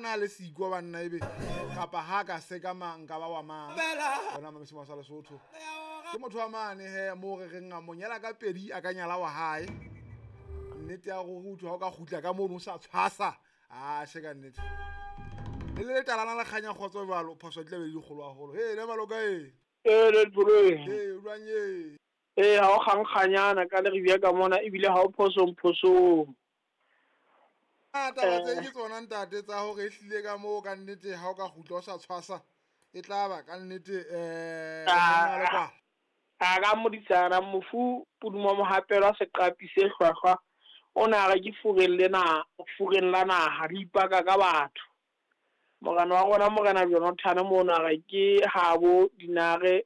na le siko banna ebe kapa ha ka sekama nka ba wa mang. Wena mamesimo sa Lesotho ke motho wa mane he mo re reng a mo nyala ka pedi a ka nyala wa hae. Nnete ya gore uthwa ha o ka kgutla ka mono o sa tshwasa a she ka nnete. Le le talana la kganya kgotso jwalo phoso di tla be di kgolo haholo. He le maloka e. Ee le Pholo. Ee o jwang ye? Ee ha o kgankganyana ka le re ka mona ebile ha o phosong phosong. A taba tse ke tsona ntate tsa hore ehlile ka moo ka nnete ha o ka kgutla o sa tshwasa e tla ba ka nnete monna le kwala. A ka modisana mofu Puduma Mohapelwa seqapi se hlwahlwa o ne a re ke fureng lena fureng la naha le ipaka ka batho. Morena wa rona Morena Jonathan mono a re ke habo dinare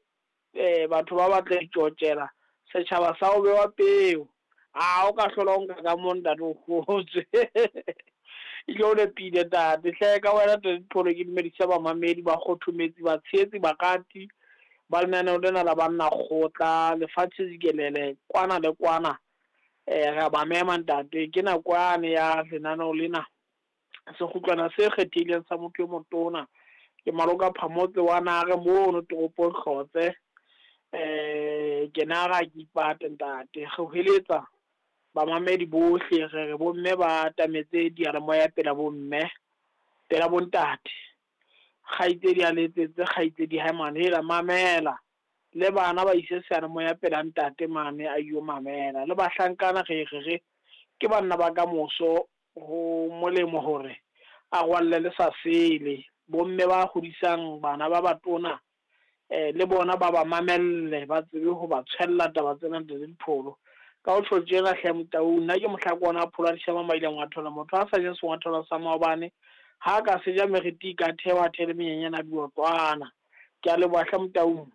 batho ba batla ditjotjela setjhaba sa ho bewa peo. A o ka hlola o nka ka mo ntate o kgotswe. Ebile o nepile ntate. Hle ka wena ntate Pholo ke dumedise bamamedi ba kgothometsi batshehetsi barati ba lenaneo lena la banna kgotla lefatshe jikelele kwana le kwana. Re a ba mema ntate ke nako yane ya lenaneo lena. Sekgutlwana se kgethehileng sa motho e motona ke Maloka Phamotse wa Nare mono toropong Hlotse. Ke nare ha ke ipate ntate. Re hweletsa bamamedi bohle re re bomme ba atametse diyalemoya pela bomme pela bontate. Kgaitsedi a letsetse kgaitsedi hae mane hela mamela le bana ba ise seyalemoya pela ntate mane a yo mamela le bahlankana re re re ke banna ba ka moso ho molemo hore a rwalle le sa sele. Bomme ba hodisang bana ba batona le bona ba ba mamelle ba tsebe ho ba tshwella taba tsena ntate Dipholo. Ka ho tjho tjena hle Motaung nna ke mohlakwana a Phola Dishaba maileng wa thola motho a sa je sengwatholo sa maobane ha ka seja meriti ka thewa thele menyenyana diotlwana. Ke a leboha hle Motaung.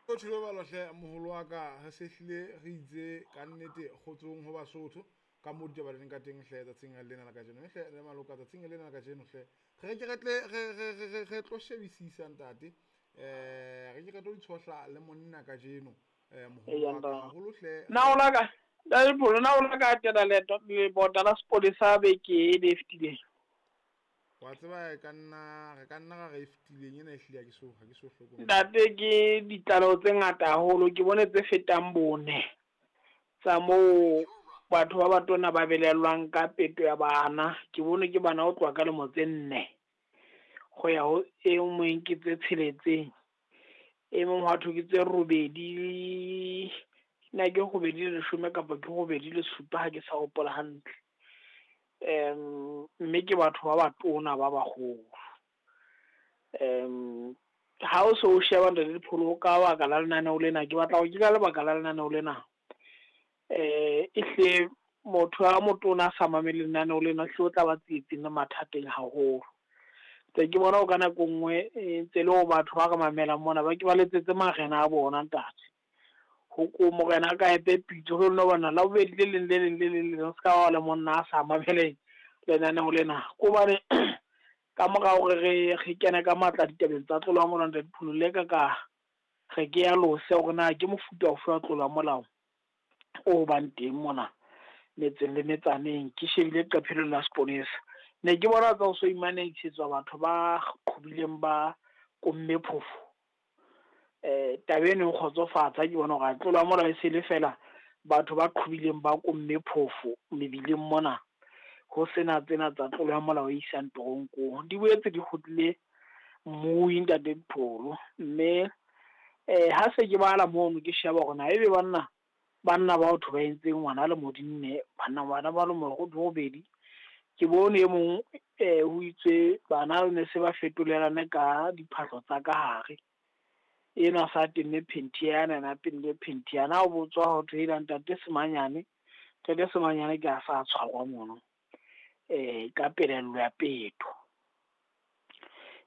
O thule balo hle moholo wa ka re sehlile re itse ka nnete kgotsong ho Basotho ka mo ditaba di leng ka teng hle tsatsing lena la kajeno. Hle le maloka tsatsing lena la kajeno hle re ke re tle re re tlo shebisisa ntate. Re ke re tlo itshohla le monna kajeno moholo wa ka haholo hle. Na o la ka ntate Pholo na o la ka etela leeto lebota la sepolesa beke e le fetileng? Wa tseba e ka nna re ka nna ra re e fetileng ena ehlile ha ke so hlokomele. Ntate ke ditlaleho tse ngata haholo ke bone tse fetang bone tsa moo batho ba batona ba belellwang ka peto ya bana. Ke bone ke bana ho tloha ka lemo tse 4 go ya ho e mong ke tse 6, e mong hwa thwe ke tse 8, na ke 8 le 10 kapa ke 8 le 7 ha ke sa hopola hantle. Mme ke batho ba batona ba baholo. Ha o so o sheba ntate Dipholo ka baka la lenaneo lena ke batla ho ke ka lebaka la lenaneo lena. Ehle motho a motona a sa mamele lenaneo lena hle o tla ba tsietsing le mathateng haholo. Tse ke bona o ka nako nngwe ntse le ho batho ba re mamelang mona ba ke ba letsetse marena a bona ntate. Ho ko morena ka epe pitso ho nna bona la bobedi le leng le leng le leng le se ka wa le monna a sa mamele lenaneo lena. Ko bane ka mora hore re kene ka matla ditabeng tsa tlolo ya molao ntate Dipholo le ka re ke ya lose hore na ke mofuta ofe wa tlolo ya molao o bang teng mona metseng le metsaneng. Ke shebile leqephe la seponesa ne ke bona tsa ho so imaneisetswa batho ba qhobileng ba komme phofo. Taba eno e nkgotsofatsa ke bona hore tlolo ya molao e se le fela batho ba qhobileng ba komme phofo mebileng mona ho sena tsena tsa tlolo ya molao e isang toronkong. Di boetse di kgutlile mmui ntate Dipholo mme ha se ke bala mono ke sheba hore na ebe banna ba batho ba entseng ngwana le modinne banna bana ba le robedi. Ke bone e mong ho itswe bana ne se ba fetolelane ka diphahlo tsa ka hare. Enwa sa tenne phenti yana na tenne phenti yana o botswa ho thwe ela ntate Semanyane ke a sa tshwarwa mono ka pelello ya peto.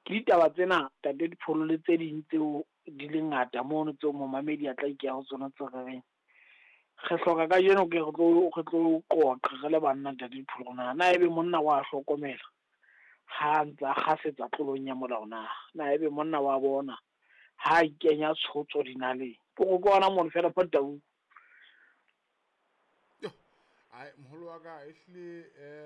Ke ditaba tsena ntate Dipholo le tse ding tseo di le ngata mono tseo momamedi a tla ikeha ho tsona tse re reng re hloka kajeno ke re tlo qoqa re le banna ntate Dipholo na ebe monna wa hlokomela ha ntse a kgasetsa tlolong ya molao na na ebe monna wa bona ha ikenya tshotso dinaleng ke go bona mono fela mo Taung. Ai moholo wa ka ehlile.